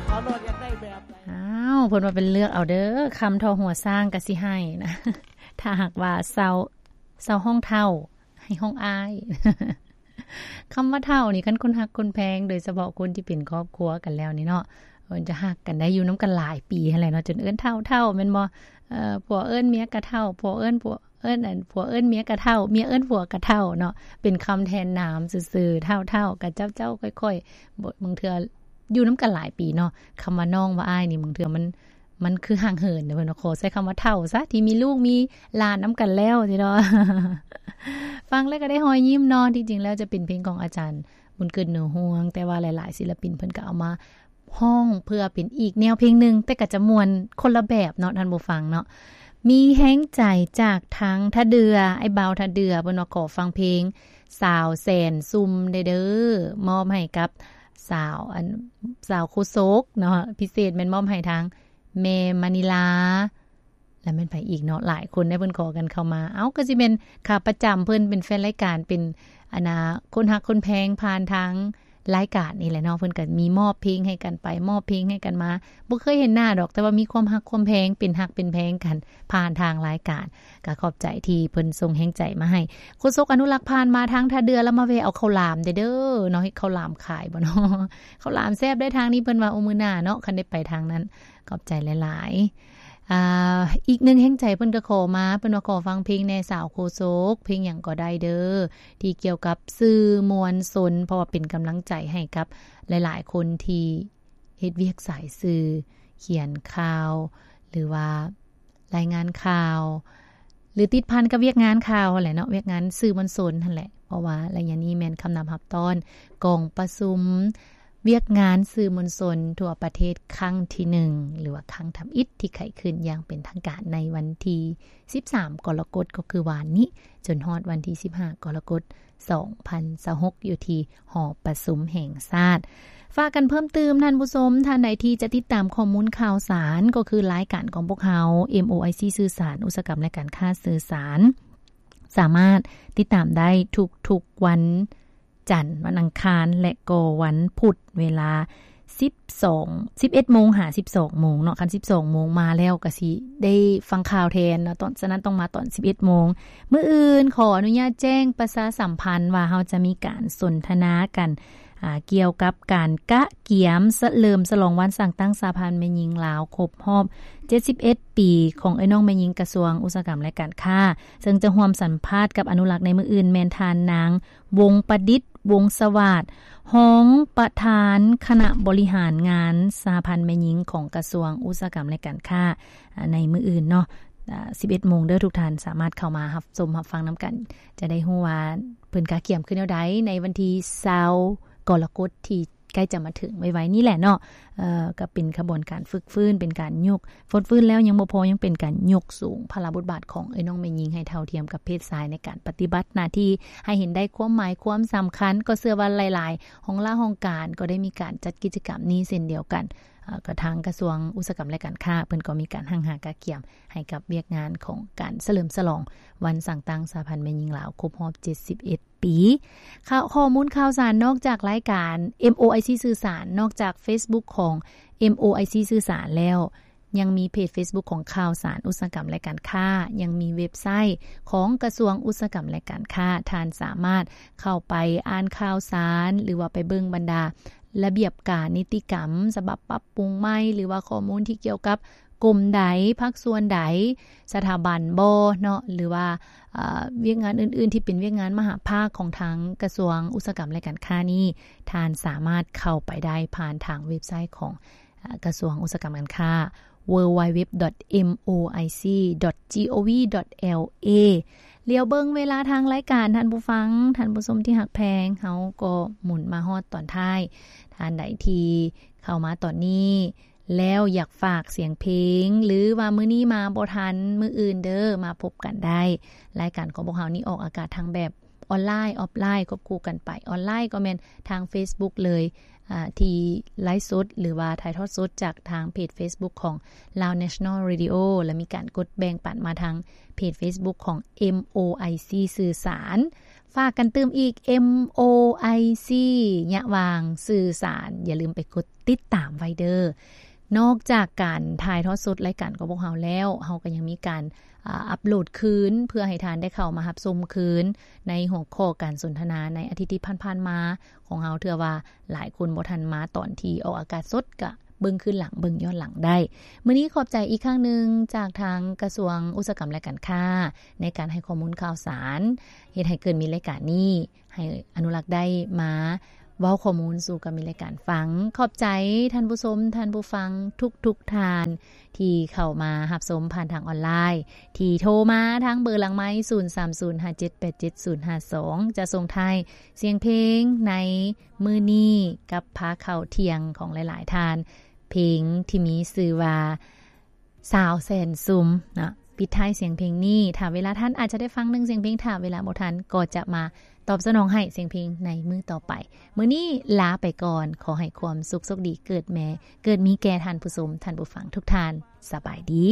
ເຂົາໂລດຢາກໄດ້ແບບໃດ. ອ້າວ ເພິ່ນວ່າເປັນເລືອກເອົາເດີ້ ຄຳທໍ່ຫົວຊ້າງກໍຊິໃຫ້ນະ ຖ້າຫາກວ່າເຊົາ ເຊົາຮ້ອງເຖົ້າ ໃຫ້ຮ້ອງອ້າຍ. ຄຳວ່າເຖົ້ານີ້ ຄັນຄົນຮັກຄົນແພງ ໂດຍສະເພາະຄົນທີ່ເປັນຄອບຄົວກັນແລ້ວນີ້ເນາະ ເພິ່ນຈະຮັກກັນໄດ້ ຢູ່ນຳກັນຫຼາຍປີຫັ້ນແຫຼະເນາະ ຈົນເອີ້ນເຖົ້າໆ ແມ່ນບໍ່? ເອີ ຜົວເອີ້ນເມຍກະເຖົ້າ ຜົວເອີ້ນຜົວ ເອີ້ນອັນ ຜົວເອີ້ນເມຍກະເຖົ້າ ເມຍເອີ້ນຜົວກະເຖົ້າເນາະ ເປັນຄຳແທນນາມຊື່ໆ ເຖົ້າໆ ກະເຈົ້າໆ ຂ້ອຍໆ ບໍ່ ບາງເທື່ອຢູ່ນຳກັນຫຼາຍປີເນາະ ຄຳວ່ານ້ອງວ່າອ້າຍນີ້ ບາງເທື່ອມັນ ມັນຄືຫ່າງເຫີນເດ້ ເພິ່ນວ່າຂໍໃຊ້ຄຳວ່າເຖົ້າຊະ ທີ່ມີລູກມີຫຼານນຳກັນແລ້ວຊີ້ເນາະ. ຟັງແລ້ວກໍໄດ້ຮອຍຍິ້ມເນາະ ທີ່ຈິງແລ້ວຈະເປັນເພງຂອງອາຈານບຸນເກີດ ໜູຮວງ ແຕ່ວ່າຫຼາຍໆ ສິນລະປິນເພິ່ນກໍເອົາມາ ຮ້ອງເພື່ອເປັນອີກແນວເພງໜຶ່ງ ແຕ່ກໍຈະມ່ວນຄົນລະແບບເນາະ ທ່ານຜູ້ຟັງເນາະ. ມີແຮງໃຈຈາກທາງທ່າເດື່ອ ອ້າຍບ່າວທ່າເດື່ອ ເພິ່ນວ່າຂໍຟັງເພງສາວແສນຊຸ່ມແດ່ເດີ້ ມອບໃຫ້ກັບສາວ ອັນ ສາວໂຄສົກເນາະ ພິເສດແມ່ນມອບໃຫ້ທາງແມ່ມະນີລາ ແລ້ວແມ່ນໃຜອີກເນາະ ຫຼາຍຄົນໄດ້ເພິ່ນຂໍກັນເຂົ້າມາ. ເອົ້າ ກໍຊິແມ່ນຂາປະຈຳເພິ່ນ ເປັນແຟນລາຍການ ເປັນ ອັນນ່າ ຄົນຮັກຄົນແພງຜ່ານທາງລາຍການນີ້ແຫຼະເນາະ ເພິ່ນກໍມີມອບເພງໃຫ້ກັນໄປ ມອບເພງໃຫ້ກັນມາ ບໍ່ເຄີຍເຫັນໜ້າດອກ ແຕ່ວ່າມີຄວາມຮັກຄວາມແພງ ເປັນຮັກເປັນແພງກັນຜ່ານທາງລາຍການ. ກໍຂອບໃຈທີ່ເພິ່ນສົ່ງແຮງໃຈມາໃຫ້. ໂຄສົກອະນຸລັກຜ່ານມາທາງທ່າເດື່ອ ແລ້ວມາແວ່ເອົາເຂົ້າຫຼາມແດ່ເດີ້ເນາະ ເຮັດເຂົ້າຫຼາມຂາຍບໍ່ເນາະ? ເຂົ້າຫຼາມແຊບໄດ໋ທາງນີ້ ເພິ່ນວ່າ ໂອ ມື້ໜ້າເນາະ ຄັນໄດ້ໄປທາງນັ້ນ. ຂອບໃຈຫຼາຍໆ. ອ່າ ອີກໜຶ່ງແຮງໃຈເພິ່ນກໍຂໍມາ ເພິ່ນວ່າຂໍຟັງເພງແດ່ສາວໂຄສົກ ເພງຫຍັງກໍໄດ້ເດີ້ ທີ່ກ່ຽວກັບສື່ມວນຊົນ ເພາະວ່າເປັນກຳລັງໃຈໃຫ້ກັບຫຼາຍໆຄົນທີ່ເຮັດວຽກສາຍສື່ ຂຽນຂ່າວ ຫຼືວ່າລາຍງານຂ່າວ ຫຼືຕິດພັນກັບວຽກງານຂ່າວຫັ້ນແຫຼະເນາະ ວຽກງານສື່ມວນຊົນຫັ້ນແຫຼະ ເພາະວ່າໄລຍະນີ້ແມ່ນຄຳນັບຮັບຕ້ອນກອງປະຊຸມ ວຽກງານສື່ມວນຊົນທົ່ວປະເທດຄັ້ງທີໜຶ່ງ ຫຼືວ່າຄັ້ງທຳອິດ ທີ່ໄຂຂຶ້ນຢ່າງເປັນທາງການໃນວັນທີສິບສາມ ກໍລະກົດ ກໍຄືວານນີ້ ຈົນຮອດວັນທີສິບຫ້າ ກໍລະກົດ ສອງພັນຊາວຫົກ ຢູ່ທີ່ຫໍປະຊຸມແຫ່ງຊາດ. ຝາກກັນເພີ່ມຕື່ມ ທ່ານຜູ້ຊົມ ທ່ານໃດທີ່ຈະຕິດຕາມຂໍ້ມູນຂ່າວສານ ກໍຄືລາຍການຂອງພວກເຮົາ ເອັມໂອໄອຊີ ສື່ສານ ອຸດສາຫະກຳ ແລະ ການຄ້າສື່ສານ ສາມາດຕິດຕາມໄດ້ທຸກໆວັນ ຈັນ, ວັນອັງຄານ ແລະ ກໍວັນພຸດ ເວລາສິບສອງ ສິບເອັດໂມງຫາສິບສອງໂມງເນາະ. ຄັນສິບສອງໂມງມາແລ້ວກໍຊິໄດ້ຟັງຂ່າວແທນເນາະ, ຕອນ ສະນັ້ນຕ້ອງມາຕອນສິບເອັດໂມງ. ມື້ອື່ນຂໍອະນຸຍາດແຈ້ງປະຊາສຳພັນວ່າເຮົາຈະມີການສົນທະນາກັນ ອ່າ ກ່ຽວກັບການກະກຽມສະເຫຼີມສະຫຼອງວັນສ້າງຕັ້ງສະຫະພັນແມ່ຍິງລາວຄົບຮອບເຈັດສິບເອັດປີ ຂອງເອື້ອຍນ້ອງແມ່ຍິງກະຊວງອຸດສາຫະກຳ ແລະ ການຄ້າ, ເຊິ່ງຈະຮ່ວມສຳພາດກັບອະນຸລັກໃນມື້ອື່ນແມ່ນທ່ານນາງ ວົງປະດິດ ວົງສະຫວາດ ຮອງປະທານຄະນະບໍລິຫານງານສະຫະພັນແມ່ຍິງຂອງກະຊວງອຸດສາຫະກຳ ແລະ ການຄ້າ ໃນມື້ອື່ນເນາະ ສິບເອັດໂມງເດີ້. ທຸກທ່ານສາມາດເຂົ້າມາຮັບຊົມຮັບຟັງນຳກັນ ຈະໄດ້ຮູ້ວ່າເພິ່ນກະກຽມຄືແນວໃດໃນວັນທີຊາວ ກໍລະກົດທີ່ໃກ້ຈະມາເຖິງໄວໆນີ້ແຫຼະເນາະ. ເອີ ກໍເປັນຂະບວນການຝຶກຟື້ນ ເປັນການຍົກ ຟົດຟື້ນແລ້ວຍັງບໍ່ພໍ ຍັງເປັນການຍົກສູງພາລະບົດບາດຂອງເອື້ອຍນ້ອງແມ່ຍິງໃຫ້ເທົ່າທຽມກັບເພດຊາຍ ໃນການປະຕິບັດໜ້າທີ່ໃຫ້ເຫັນໄດ້ຄວາມໝາຍຄວາມສຳຄັນ. ກໍເຊື່ອວ່າຫຼາຍໆຫ້ອງລາຫ້ອງການກໍໄດ້ມີການຈັດກິດຈະກຳນີ້ເຊັ່ນດຽວກັນ. ເອີ ກໍທາງກະຊວງອຸດສາຫະກຳ ແລະ ການຄ້າ ເພິ່ນກໍມີການຮັ່ງຫາກະກຽມໃຫ້ກັບວຽກງານຂອງການສະເຫຼີມສະຫຼອງວັນສ້າງຕັ້ງສະຫະພັນແມ່ຍິງລາວຄົບຮອບເຈັດສິບເອັດ ປີ. ຂ່າວ ຂໍ້ມູນຂ່າວສານ ນອກຈາກລາຍການ ເອັມໂອໄອຊີ ສື່ສານ, ນອກຈາກເຟສບຸກຂອງ ເອັມໂອໄອຊີ ສື່ສານແລ້ວ ຍັງມີເພຈເຟສບຸກຂອງຂ່າວສານອຸດສາຫະກຳ ແລະ ການຄ້າ, ຍັງມີເວັບໄຊຂອງກະຊວງອຸດສາຫະກຳ ແລະ ການຄ້າ. ທ່ານສາມາດເຂົ້າໄປອ່ານຂ່າວສານ ຫຼືວ່າໄປເບິ່ງບັນດາລະບຽບການນິຕິກຳ ສະບັບປັບປຸງໃໝ່ ຫຼືວ່າຂໍ້ມູນທີ່ກ່ຽວກັບ ກົມໃດ ພາກສ່ວນໃດ ສະຖາບັນບໍເນາະ ຫຼືວ່າ ເອີ ວຽກງານອື່ນໆທີ່ເປັນວຽກງານມະຫາພາກຂອງທາງກະຊວງອຸດສາຫະກຳ ແລະ ການຄ້ານີ້ ທ່ານສາມາດເຂົ້າໄປໄດ້ຜ່ານທາງເວັບໄຊຂອງ ເອີ ກະຊວງອຸດສາຫະກຳ ການຄ້າ www.moic.gov.la. ຫຼຽວເບິ່ງເວລາທາງລາຍການ ທ່ານຜູ້ຟັງ ທ່ານຜູ້ຊົມທີ່ຮັກແພງ, ເຮົາກໍໝູນມາຮອດຕອນທ້າຍ. ທ່ານໃດທີ່ເຂົ້າມາຕອນນີ້ ແລ້ວຢາກຝາກສຽງເພງ ຫຼືວ່າມື້ນີ້ມາບໍ່ທັນ ມື້ອື່ນເດີ້ ມາພົບກັນໄດ້. ລາຍການຂອງພວກເຮົານີ້ອອກອາກາດທັງແບບອອນລາຍ ອອຟລາຍ ຄວບຄູ່ກັນໄປ. ອອນລາຍກໍແມ່ນທາງເຟສບຸກເລີຍ ອາ ທີ່ໄລຟ໌ສົດ ຫຼືວ່າຖ່າຍທອດສົດຈາກທາງເພຈເຟສບຸກຂອງ Lao National Radio ແລະ ມີການກົດແບ່ງປັນມາທາງເພຈເຟສບຸກຂອງ ເອັມໂອໄອຊີ ສື່ສານ. ຝາກກັນຕື່ມອີກ ເອັມ ໂອ ໄອ ຊີ ຍະຫວ່າງສື່ສານ ຢ່າລືມໄປກົດຕິດຕາມໄວ້ເດີ້. ນອກຈາກການຖ່າຍທອດສົດລາຍການຂອງພວກເຮົາແລ້ວ, ເຮົາກໍຍັງມີການ ອາ ອັບໂຫຼດຄືນ ເພື່ອໃຫ້ທ່ານໄດ້ເຂົ້າມາຮັບຊົມຄືນ ໃນຫົວຂໍ້ການສົນທະນາໃນອາທິດທີ່ຜ່ານໆມາຂອງເຮົາ. ເທື່ອວ່າຫຼາຍຄົນບໍ່ທັນມາຕອນທີ່ອອກອາກາດສົດ ກະເບິ່ງຄືນຫຼັງ ເບິ່ງຍ້ອນຫຼັງໄດ້. ມື້ນີ້ຂອບໃຈອີກຄັ້ງໜຶ່ງຈາກທາງກະຊວງອຸດສາຫະກຳ ແລະ ການຄ້າ ໃນການໃຫ້ຂໍ້ມູນຂ່າວສານ ເຮັດໃຫ້ເກີດມີລາຍການນີ້ ໃຫ້ອະນຸລັກໄດ້ມາເວົ້າຂໍ້ມູນສູ່ກັບມີລາຍການຟັງ. ຂອບໃຈທ່ານຜູ້ຊົມ, ທ່ານຜູ້ຟັງທຸກໆທ່ານ ທີ່ເຂົ້າມາຮັບຊົມຜ່ານທາງອອນລາຍ ທີ່ໂທມາທາງເບີຫຼັງໄມ ສູນສາມສູນຫ້າເຈັດແປດເຈັດສູນຫ້າສອງ ຈະສົ່ງທ້າຍສຽງເພງໃນມື້ນີ້ ກັບພາເຂົ້າທ່ຽງຂອງຫຼາຍໆທ່ານ, ເພງທີ່ມີຊື່ວ່າ ສາວແສນຊຸມເນາະ. ປິດທ້າຍສຽງເພງນີ້ ຖ້າເວລາທັນອາດຈະໄດ້ຟັງໜຶ່ງສຽງເພງ, ຖ້າເວລາບໍ່ທັນກໍຈະມາຕອບສະໜອງໃຫ້ສຽງເພງໃນມື້ຕໍ່ໄປ. ມື້ນີ້ລາໄປກ່ອນ, ຂໍໃຫ້ຄວາມສຸກໂຊກດີເກີດແມ່ ເກີດມີແກ່ທ່ານຜູ້ຊົມ, ທ່ານຜູ້ຟັງທຸກທ່ານ. ສະບາຍດີ.